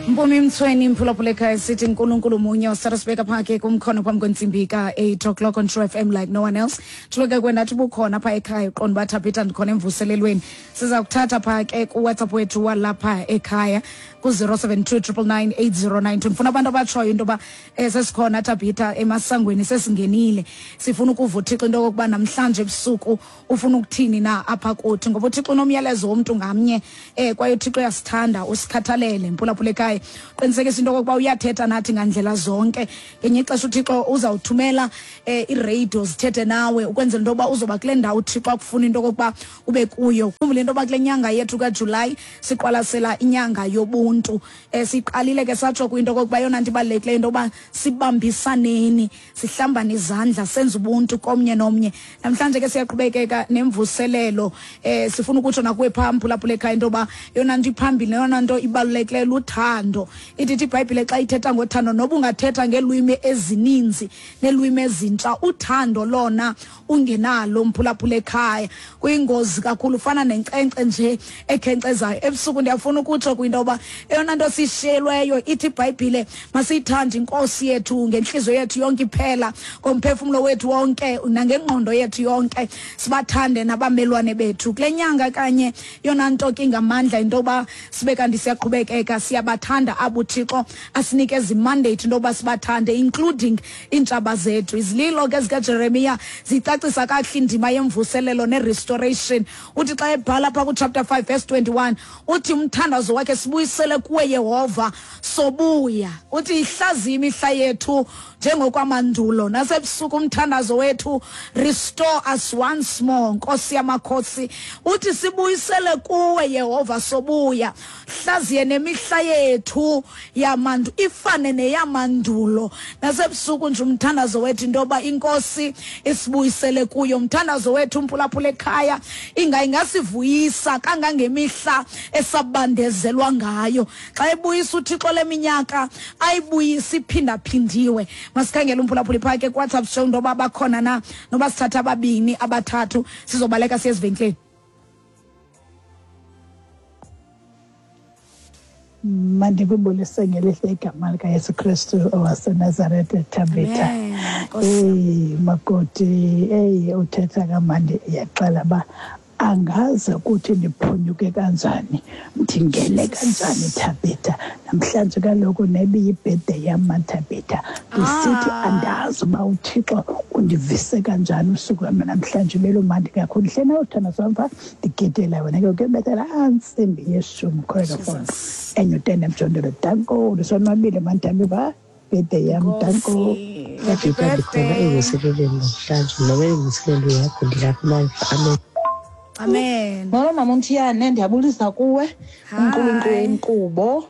Mpumi Mtsweni mphulaphula ekhaya sithi uNkulunkulu munye usarasibeka pha ke kumkhono phambi kwentsimbi ka-8 o'clock on True FM like no one else. Thuleke kwendathi ubukhona pha ekhaya uqonda uba Thabitha ndikhona emvuselelweni. Siza kuthatha pha ke kuWhatsApp wethu walapha ekhaya ku-072 999 8092. Ndifuna abantu abatshoyo into yoba sesikhona Thabitha emasangweni sesingenile. Sifuna ukuva uThixo into yokokuba namhlanje ebusuku ufuna ukuthini na apha kuthi, ngoba uThixo unomyalezo womntu ngamnye, kwaye uThixo uyasithanda, usikhathalele. Mphulaphula ekhaya, qinisekisa into yokokuba uyathetha nathi ngandlela zonke. Ngenye ixesha uThixo uzawuthumela iiradio zithethe nawe ukwenzela into yokuba uzoba kule ndawo uThixo akufuna into yokokuba ube kuyo. Khumbule into yoba kule nyanga yethu kaJulayi siqwalasela inyanga yobuntu. Siqalile ke satsho kwinto okokuba yona nto ibalulekileyo into yokuba sibambisaneni, sihlambane izandla, senze ubuntu komnye nomnye. Namhlanje ke siyaqhubekeka nemvuselelo. Sifuna ukutsho nakuwe phaa mphulaphula ekhaya into yoba yona nto iphambili neyona nto ibalulekileyo luthando. Ithi iBhayibhile xa ithetha ngothando, noba ungathetha ngeelwimi ezininzi neelwimi ezintsha, uthando lona ungenalo mphulaphula ekhaya kuyingozi kakhulu, ufana nenkcenkce nje ekhenkcezayo. Ebusuku ndiyafuna ukutsho kwinto yoba eyona nto sishiyelweyo, ithi iBhayibhile masiyithande inkosi yethu ngentliziyo yethu yonke iphela, ngomphefumlo wethu wonke nangengqondo yethu yonke, sibathande nabamelwane bethu. Kule nyanga kanye yona nto ke ingamandla into yoba sibe kanti siyaqhubekeka siyabathanda abo uThixo asinikeza imandate into yoba sibathande, including iintshaba zethu. Izililo ke zikaJeremiya zicacisa kakuhle indima yemvuselelo ne-restoration. Uthi xa ebhala phaa kuchapter 5 verse 21, uthi umthandazo wakhe, sibuyisele kuwe Yehova, sobuya. Uthi ihlaziye imihla yethu njengokwamandulo, nasebusuku umthandazo wethu, restore us once more, Nkosi yamakhosi. Uthi sibuyisele kuwe Yehova, sobuya, hlaziye nemihla yethu yamandu ifane neyamandulo. Nasebusuku nje umthandazo wethu into yoba inkosi isibuyisele kuyo. Umthandazo wethu umphulaphula ekhaya ingasivuyisa kangangemihla esabandezelwa ngayo. Xa ebuyisa uThixo leminyaka ayibuyisa iphindaphindiwe. Masikhangele umphulaphuli phaa ke kuWhatsApp show into yoba bakhona na, noba sithatha ababini abathathu sizobaleka siye ezivenkileni. Mandikubulise ngelihle igama likaYesu Kristu owaseNazaretha, Thabitha. Eyi makoti, eyi uthetha kamandi, iyaxela uba angaze ukuthi ndiphunyuke kanjani, ndingene kanjani Thabitha. Namhlanje kaloku nebiyibirthday yam Thabitha, ndisithi andazi uba uThixo undivise kanjani usuku lwam namhlanje, belumandi kakhulu. Hle nawe uthando samva ndigidela wena ke kuyobethela antsimbi yeshumi khona eNewton emjondolo. Danko, ndisonwabile mantambi ba birthday yam, danko. Happy Ndikhona birthday. Evuselelweni namhlanje, noba imvuselelo yakho ndilapha amandla. Amen. Amen. Molo mama uMthiyane, ndiyabulisa kuwe, Hi. umqulunqi wenkqubo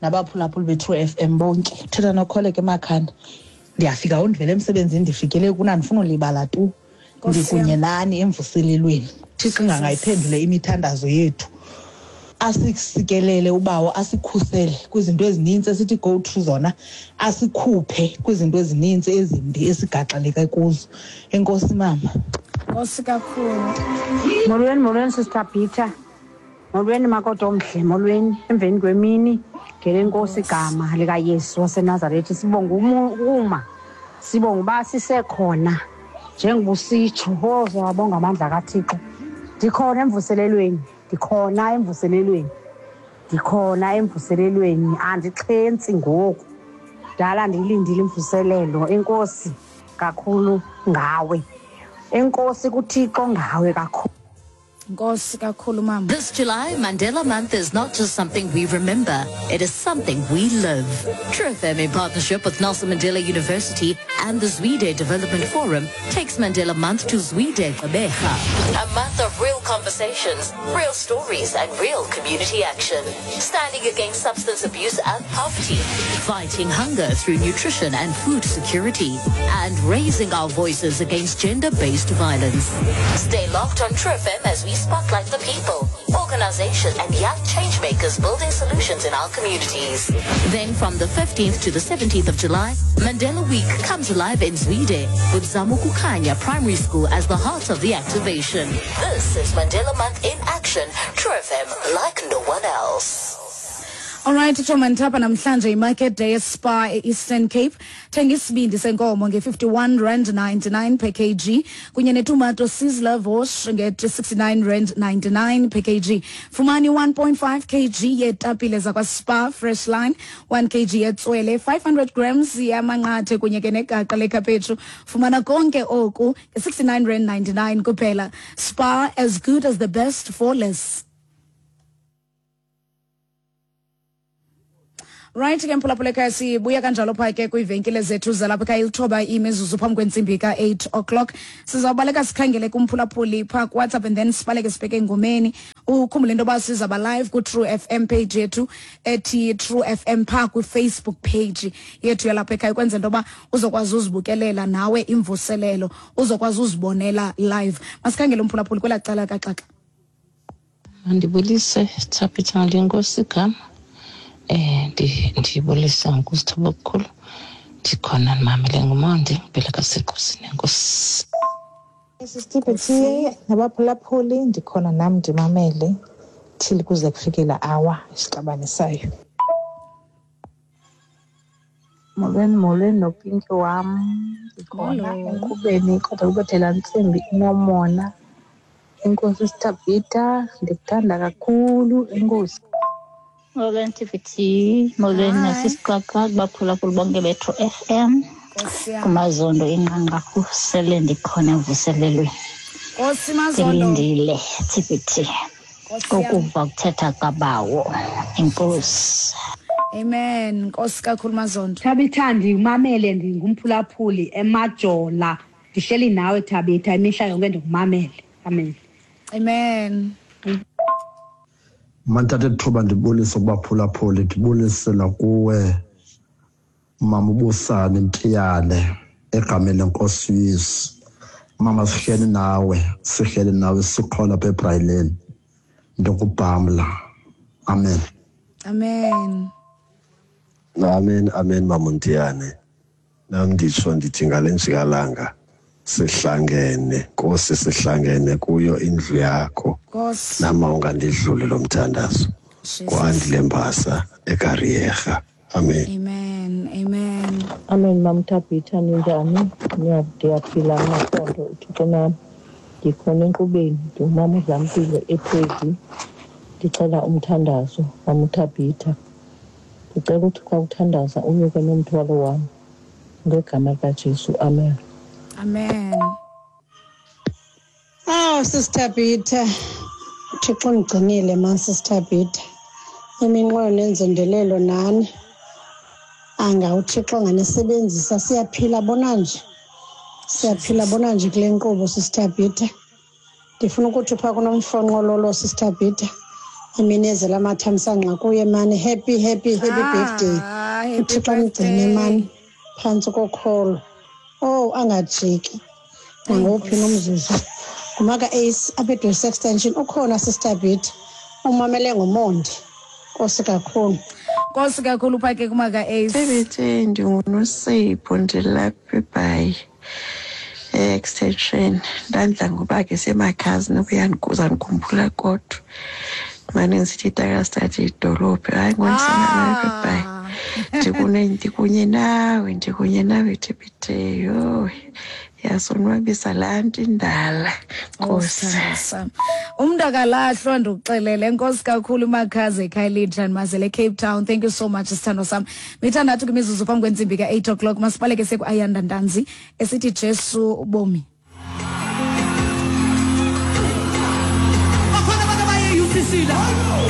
nabaphulaphuli be-True FM bonke. Uthetha noKholeka eMakhanda. Ndiyafika undivele emsebenzini, ndifikele kuna ndifuna ulibala tu. Nkosi Ndikunye yam. nani emvuselelweni. Thixo ingangayiphendule imithandazo yethu. Asisikelele ubawo, asikhusele kwizinto ezininzi esithi go through zona, asikhuphe kwizinto ezininzi ezimbi esigaxeleke kuzo. Enkosi mama. Nkosi kakhulu. Molweni, molweni Sister Peter. Molweni makoti omhle, molweni emveni kwemini ngelenkosi igama likaYesu waseNazaretha. Sibonga uma sibonga uba sisekhona njengoba usitsho. Oh, siyabonga amandla kaThixo. Ndikhona emvuselelweni, ndikhona emvuselelweni, ndikhona emvuselelweni, andixhentsi ngoku. Dala ndiyilindile imvuselelo. Enkosi kakhulu ngawe. Enkosi kuThixo ngawe kakhulu. Nkosi kakhulu mama. This July, Mandela Month is not just something we remember, it is something we live. True FM, in partnership with Nelson Mandela University and the Zwide Development Forum, takes Mandela Month to Zwide Gqeberha. A month of real conversations, real stories, and real community action. Standing against substance abuse and poverty, fighting hunger through nutrition and food security, and raising our voices against gender-based violence. Stay locked on True FM as we spotlight the people, organization, and young changemakers building solutions in our communities. Then from the 15th to the 17th of July, Mandela Week comes alive in Zwide with Zamukukhanya Primary School as the heart of the activation. This is Mandela Month in action. True FM, like no one else. Alright, Tshomanthapha, namhlanje imarket day eSpar e-Eastern Cape. Thenga isibindi senkomo nge-51 rand 99 per kg kunye netumato sizzler wash nge-69 rand 99 per kg. Fumani 1.5 kg yeetapile zakwaSpar Fresh Line, 1 kg yetswele, 500 grams yamanqathe kunye ke negaqa lekhaphetshu. Fumana konke oku nge-69 rand 99 kuphela. Spar, as good as the best for less. Right ke, mphulaphula ekhaya, sibuya kanjalo phaa ke kwiivenkile zethu zalapha ekhaya. 9 imizuzu phambi kwentsimbi ka-8 o'clock. Sizawubaleka sikhangele kumphulaphuli phaa kuWhatsApp and then sibaleke sibheke engomeni. Ukhumbule into yoba sizawuba live ku-True FM page yethu ethi True FM phaa kwiFacebook page yethu yalapha ekhaya, ukwenzela into yoba uzokwazi uzibukelela nawe imvuselelo, uzokwazi uzibonela live. Masikhangele umphulaphuli kwelaa cala kaxaxa. Mandibulise, Thabitha, lenkosi igama. Ndibulisa ngokuzithoba okukhulu. Ndikhona, ndimamele ngumonde ngibhele kasequsini. Enkosi. Sisitiphi nabaphulaphuli, ndikhona nam, ndimamele till kuze kufike la hour esixabanisayo. Molweni, molweni nopinki wam. Ndikhona Molo. enkqubeni, kodwa kubethela ntsimbi inomona. Enkosi Sithabhitha, ndikuthanda kakhulu, enkosi. Molweni TVT, molweni Hi. nasisiqaqa kubaphulaphuli bonke bethu FM. Nkosi yam. Kumazondo inqanqarhu, sele ndikhona emvuselelweni. Nkosi Mazondo. Ndilindile TVT Nkosi yam. ukuva kuthetha kabawo. Enkosi. Amen, nkosi kakhulu Mazondo. Thabitha, ndimamele, ndingumphulaphuli eMajola. Ndihleli nawe Thabitha imihla yonke, ndikumamele. Amen. Amen. Manthatha ithuba ndibulise kubaphulaphuli, ndibulisela kuwe mama uBusani Ntiyane egameni lenkosi uYesu. Mama, sihleli nawe, sihleli nawe, sikhona apha eBrayileni. Ndikubhamla, amen. Amen. Amen, amen, maMontiyane. Nam nditsho ndithi ngale njikalanga sihlangene, Nkosi, sihlangene kuyo indlu yakho. Nkosi. Nama ungandidluli lo mthandazo. Jesus. Kwandile Mbasa eKarierha. Amen. Amen, amen. Amen, mamThabitha, ninjani? Ndiyaphila masondo, uThixo nam. Ndikhona enkqubeni, ndingumama uDlampilo ePhezi. Ndicela umthandazo, mamThabitha. Ndicela uthi xa uthandaza unyuke nomthwalo wam. Ngegama likaJesu, amen. Amen. Awu Sister Peter, uThixo undigcinile man Sister Peter. Iminqweno nenzondelelo nani. Anga uThixo anganisebenzisa, siyaphila bona nje. Siyaphila bona nje kule nkqubo Sister Peter. Ndifuna ukuthi phaa kunomfonqololo Sister Peter. Iminezela amathamsanqa kuye mani. Happy, happy, happy birthday. Ah, happy uThixo amgcine birthday. mani phantsi kokholo. Oh, angajiki nangowuphi nomzuzu. Ngumaka Ace apha eDwesi Extension, ukhona Sister Peter. Umamele ngomonde. Nkosi kakhulu. Nkosi kakhulu phaa ke kumaka Ace. Tebete, ndinguNosipho, ndilapha eBhayi e-extension. Ndandla ngoba ke semakhazi nokuyandikhumbula, kodwa mane ndisithi iTarkastad idolophu. Hayi, ngondisana eBhayi, ndikunye nawe, ndikunye nawe Tebete. Yho, yasonwabisa laa nto indala. Nkosi. Sithandwa sam. Umntu akalahlwa, ndikuxelele. Enkosi kakhulu umakhazi ekhayelitsha, ndimazele eCape Town. Thank you so much, sithandwa sam. 6 kwimizuzu phambi kwentsimbi ka-8 o'clock. Masibaleke sekuAyanda Ntanzi esithi Jesu bomi. Bakhona abantu abaye-UCC la.